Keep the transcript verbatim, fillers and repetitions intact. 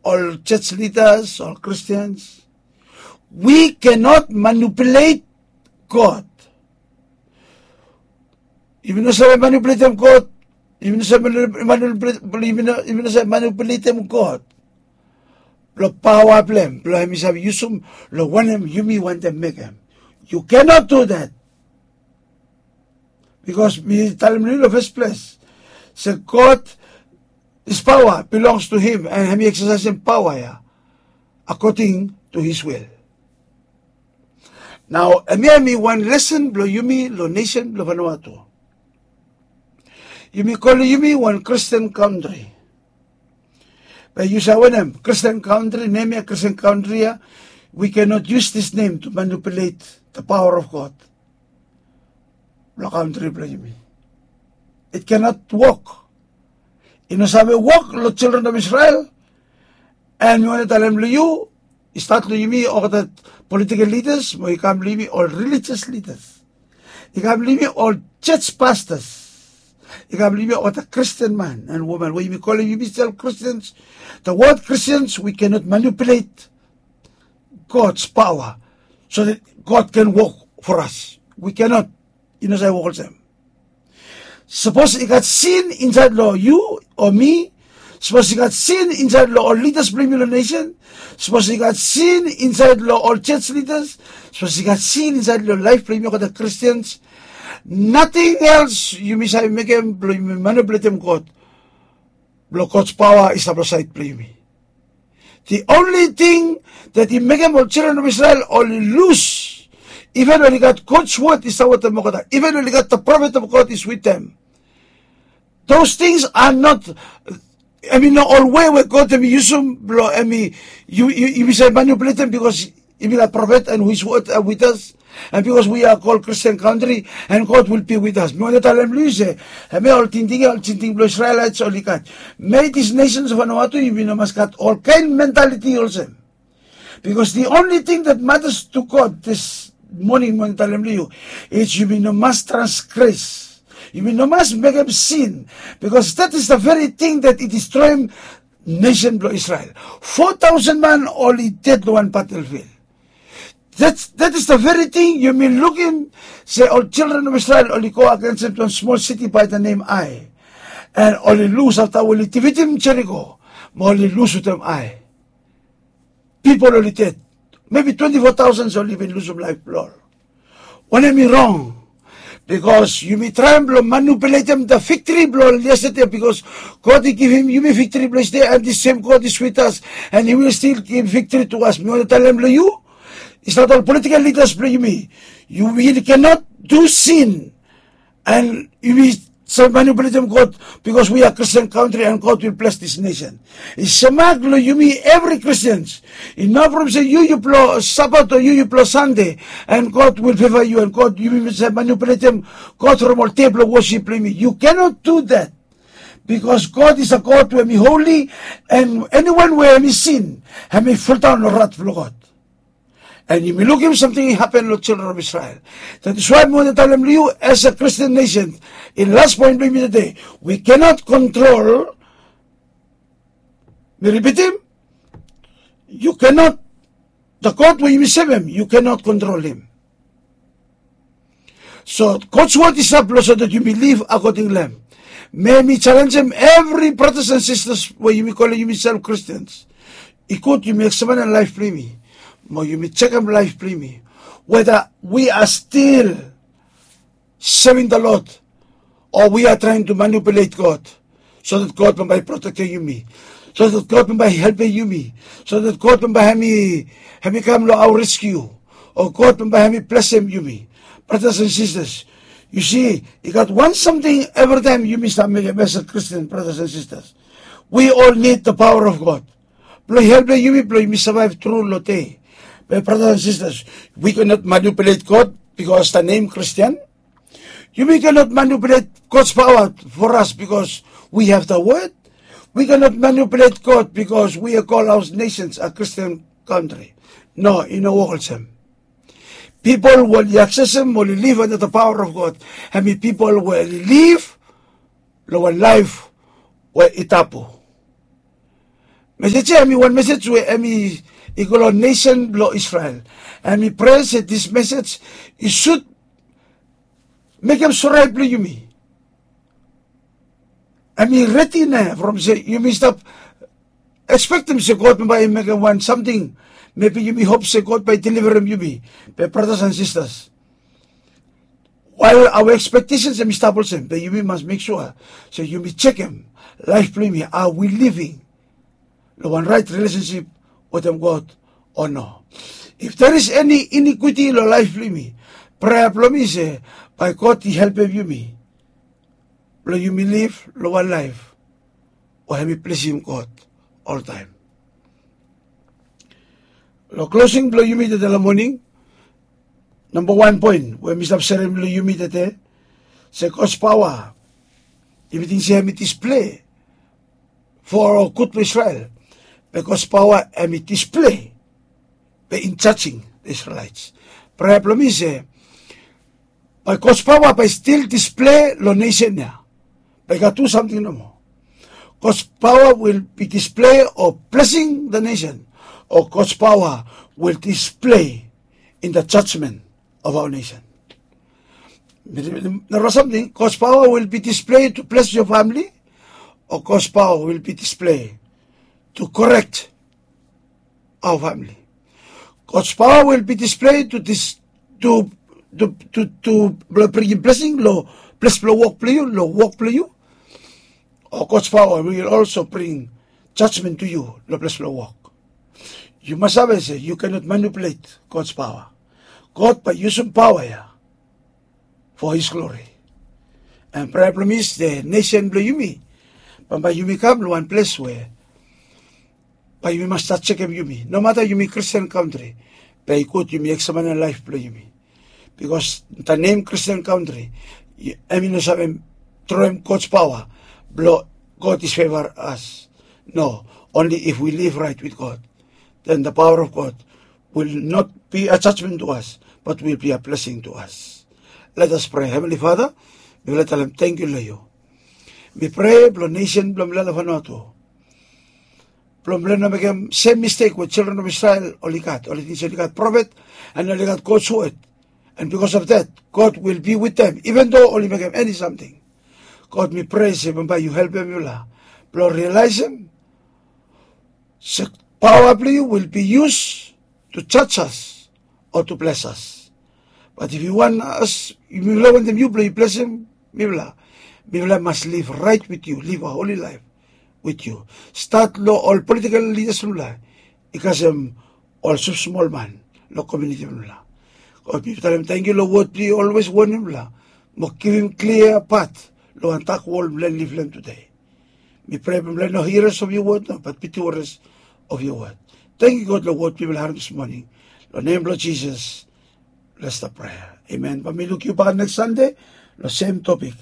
ol church leaders, ol Christians, we cannot manipulate God. Yumi no save manipuletem God. Yumi no save manipuletem God blong paoa blong hem blong hem i save yusum long wanem yumi wantem mekem. You cannot do that. Bikos mi talem long yu long fes ples se God, his paoa bilongs to him and hem i eksasaesem paoa ya according to his will. Nao hemia hem i wan lesen blong yumi long nesen blong Vanuatu. Yumi kolem yumi wan Christian kantri. Be yu save wanem, Christian kantri, nem ya Christian kantri ya, we cannot use this name to manipulate the power of God. Blong kantri blong yumi, it cannot work. I no save wok long children of Israel. And mi wantem talem long yu, i stat long yumi olgeta political leaders mo i kam long yumi ol religious leaders, i kam long yumi ol church pastors, i kam long yumi olgeta Christian man and woman we yumi kolem yumi sel Christians. The word Christians, we cannot manipulate God's power so that God can work for us. We cannot. I no save wok olsem. Sapos i gat sin insaed long yu o mi, sapos i gat sin insaed long ol lidas blong yumi long nesen, sapos i gat sin insaed long ol church leaders, sapos i gat sin insaed long laef blong yumi olgeta Christians, nating els yumi save mekem blong yumi manipuletem God blong God's paoa i stap long saed blong yumi. The only thing that i mekem ol children of Israel oli lus, even oli gat God's word i stap wetem olgeta, even oli gat the prophet of God is with them. Those things are not, hem i no ol wei we God hem i yusum blong hem i, yu, yu, yumi save manipuletem bikos yumi gat prophet and his word are with us. And bikos we are called Christian country and God will be with us. Mi wantem talem long yu se hemia ol tingting ya ol tingting blong Israelites oli gat. Mei this nations of Vanuatu yumi no mas gat olkaen mentality olsem. Bikos the only thing that matters to God this morning mi wantem talem long yu is yumi no mas transgress. Yumi no mas mekem sin. Bikos that is the very thing that i distroem nesen blong Israel. Fo taosen man oli ded long wan battlefield. That is the very thing yumi lukim se ol children of Israel oli go agensem wan smol siti by the name Ai. And oli lus afta we oli difitim Jeriko mo oli lus wetem Ai. Pipol oli ded. Maybe twenti fo taosen oli bin lusum laef blong ol. Wanem i rong? Bikos yumi traem blong manipuletem the victory blong ol yestede, bikos God i givim yumi victory blong yestede, and the same God is with us and he will still give victory to us. Mi wantem talem long yu, i stap ol political leaders blong yumi, you really cannot do sin and yumi save manipuletem God, bikos we are Christian country and God will bless this nation. I semak long yumi evri Christians. I no problem se yu yupela Sabat o yu yupela Sande, and God will favor you and God, yumi save manipuletem God from ol dei blong worship blong yumi. You cannot do that. Bikos God is a God we hem i holy, and anyone we hem i sin, hem i foldaon long rat blong God. And yumi lukim samting i hapen long children of Israel. That is why mi wantem talem long yu as a Christian nation, in last point blong yumi today, we cannot control. Mi ripitim, you cannot, the God we yumi sevem, you cannot control him. So God's word i stap long so that yumi liv according long hem. Mi wantem jalenjem evri bratas and sisters we yumi kolem yumiself Christians. I gud yumi eksamenem laef blong yumi mo yumi jekem laef blong yumi, whether we are still serving the Lord or we are trying to manipulate God, so that God bambae i protektem yumi, so that God bambae i helpem yumi, so that God bambae hem i, hem i kam long our rescue, o God bambae hem i blesem yumi. Bratas and sisters, yu si, i gat wan samting evritaem yumi stap mekem as a Christian, bratas and sisters. We all need the power of God. Blong helpem yumi blong yumi savaev tru long dei. Be bratas and sisters, we cannot manipulate God bikos the name Christian. Yumi cannot manipulate God's power for us bikos we have the word. We cannot manipulate God bikos we are called our nations a Christian country. No, i no wok olsem. Pipol we oli aksesem oli liv under the power of God, hem i pipol we oli liv long wan laef we i tabu. Mesej ya hemi wan mesej we hemi i go long nesen blong Israel. Hemi prea se dis mesej i sud mekem sore blong yumi. Hemi redi nao from se yumi stap ekspektem se God bambae i mekem wan samting. Maybe yumi hop se God bae i deliverem yumi. Be bratas and sistas, wael aoa ekspektesens hemi stap olsem, be yumi mas mek sua se yumi jekem laef blong yumi, are we living long wan raet rilesensip wetem God o no? If there is any iniquity long laef blong yumi, prea blong mi se bae God i helpem yumi blong yumi liv long wan laef we hemi plesim God oltaem. Long klosing blong yumi tede long moning, namba wan poen we mi stap serem long yumi tede, se God's paoa, yumi ting se hemi displei for gud blong Israel. Be God's paoa hemi displei be in jajing the Israelites. Prea blong mi se bae God's paoa bae stil displei long nesen ya. Bae i gat tu samting nomo. God's paoa will be displei o blesing the nation, o God's paoa will displei in the judgment of our nation. Narafala samting, God's paoa will be displei to bles your famili, o God's paoa will be displei to korek our famili. God's paoa will be displei to dis, to, to, to, to blong bringim blesing long ples blong wok blong yu, long wok blong yu. O God's paoa will also bring jajmen to yu long ples blong wok. Yu mas save se yu kenot manipulet God's paoa. God bae i yusum paoa ya for his glory. And prea blong mi se nesen blong yumi, bambae yumi kam long wan ples we bae yumi mas stat jekem yumi. Nomata yumi Christian kantri, be i gud yumi eksamanem laef blong yumi. Bikos the name Christian kantri, hemi no save troem God's paoa blong God is favor us. No, only if we live right with God, then the power of God will not be a judgment to us, but will be a blessing to us. Let us pray. Heavenly Father, mifala talem tangkiu long yu. Mi prea blong nesen blong mifala long Vanuatu, blong mifala no mekem sem mistek we children of Israel oli gat. Oli ting se oli gat profet and oli gat God's word. And because of that, God will be with them, even though oli mekem eni samting. God, mi prea se bambae yu helpem mifala blong rialaesem se paoa blong yu will be used to judge us or to bless us. But if you want us, mifala wantem yu blong yu blesem mifala, mifala mas live right with you, live a holy life with you. Stat long ol political leaders blong mifala i kasem ol smosmol man long komuniti blong mifala. God, mi talem tangkiu long wod blong yu olwes wonem mifala mo givim klia pat long wan dak wol mifala i liv long hem tude. Mi prea blong mifala no hearers of your word no, but be doers of your word. Tangkiu God long wod blong mifala harem dis moning. Long nem blong Jisas mifala stap prea. Amen. Bae mi luk yu bak neks Sande long sem topik.